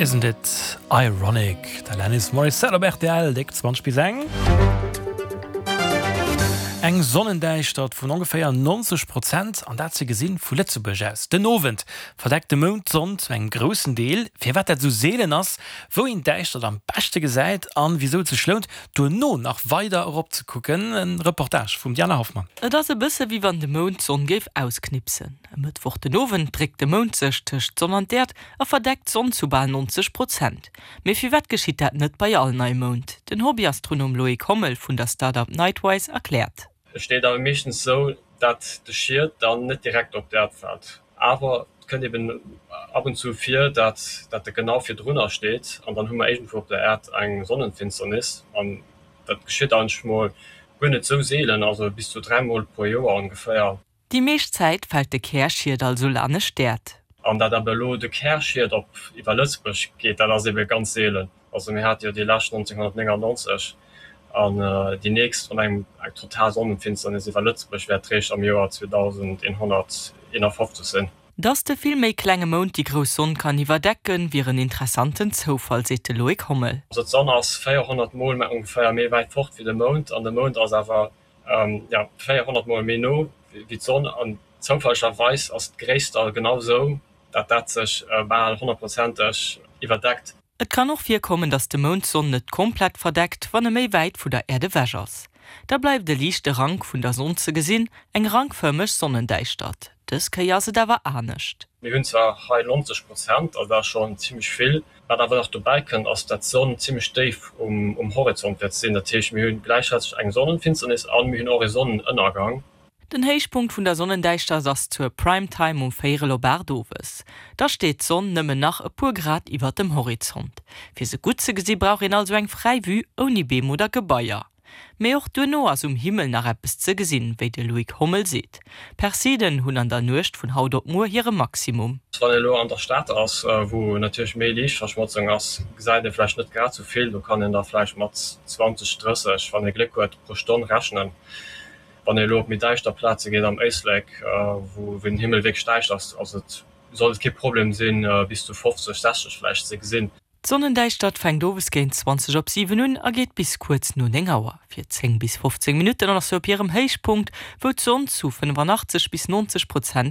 Isn't it ironic? D'Alanis Morissette op rtl, déck 20 bis eng. Eng Sonnendäischtert vun ongeféier 90 Prozent, an dat ze gesinn vu Lëtzebuerg aus. Den Owend verdeckt de Mound d'Sonn zu engem groussen Deel. Firwat dat esou seelen ass, wou een d'Däischtert am beschte gesäit an wisou et sech lount, duerno nach weider erop ze kucken, en Reportage vum Diana Hoffmann. Et ass e bësse wéi wann de Mound d'Sonn géif ausknipsen. E Mëttwoch den Owend dréckt de Mound sech tëscht d'Sonn an d'Äerd a verdeckt d'Sonn zu bal 90 Prozent. Mee firwat geschitt dat net bei all Neimound? Den Hobbyastronom Loïc Hommel vun der Start-up Nightwise erkläert. Et steet awer meeschtens esou, dat de Schiet dann net direkt op d'Äerd fält. Awer et kënnt eben ab und zu vir, dat dat e genau virdrunner steet an dann hu mer iergendwou op der Äerd eng Sonnenfinsternis. An dat geschitt eigentlech mol guer net esou seelen, also bis zu dräimol pro Joer ongeféier. Déi meescht Zäit fält de Kärschiet also lanescht d'Äerd. An dat awer elo de Kärschiet op iwwer Lëtzebuerg geet, dat ass ebe ganz seelen. Also mir hate jo déi lescht 1999 an déi nächst wann eng total Sonnenfinsternis iwwer Lëtzebuerg wäert réischt am Joer 2151 sinn. Dass de vill méi klenge Mound déi grouss Sonn kann iwwerdecken, wier en interessanten Zoufall, seet de Loïc Hommel. Also d'Sonn ass 400 mol ongeféier méi wäit fort wéi de Mound an de Mound ass awer Jo, 400 mol méi no wéi d'Sonn an zoufällegerweis ass d'Gréisst da genau sou, dat dat sech bal honnertprozenteg iwwerdeckt. Et kann och virkommen, datt de Mound d'Sonn net komplett verdeckt, wann e méi wäit vu der Äerd ewech ass. Da bleift e liichte Rank vun der Sonn ze gesinn, eng rankfërmeg Sonnendäischtert. Dës Kéier ass et awer anescht. Mir hunn zwar hei 90 Prozent, also dat ass schonn zimmlech vill. Wat awer nach dobäi kënnt, ass dat d'Sonn zimmlech déif um Horizont wäert sinn. Dat heescht, mir hu gläichzäiteg eng Sonnenfinsternis an mir hunn och e Sonnenënnergang. Den Héichpunkt vun der Sonnendäischtert ass zur Prime Time um véierel op 8 owes. Da steet d'Sonn nëmmen nach e puer Grad iwwert dem Horizont. Fir se gutt ze gesi brauch een also eng fräi Vue ouni Beem oder Gebaier. Mee och duerno ass um Himmel nach eppes ze gesinn, wéi de Loïc Hommel seet. D'Perseiden hunn an der Nuecht vun haut op muer hire Maximum. Wann een elo an der Stad ass, wou natierlech méi Liichtverschmotzung ass, gesäit ee vläicht net grad sou vill. Do kann een da vläicht mat 20, 30, wann ee Gléck huet, pro Stonn rechnen. Wann ee elo op méi däischter Plaze geet am Éislek, wou den Himmel wierklech däischter ass, ass et, sollt et kee Problem sinn, bis zu 50, 60 vläicht ze gesinn. D'Sonnendäischtert fänkt owes géint 20 op 7 un a geet bis kuerz no 9 Auer. Fir 10 bis 15 Minutten ass se op hirem Héichpunkt, wou d'Sonn zu 85 bis 90 Prozent.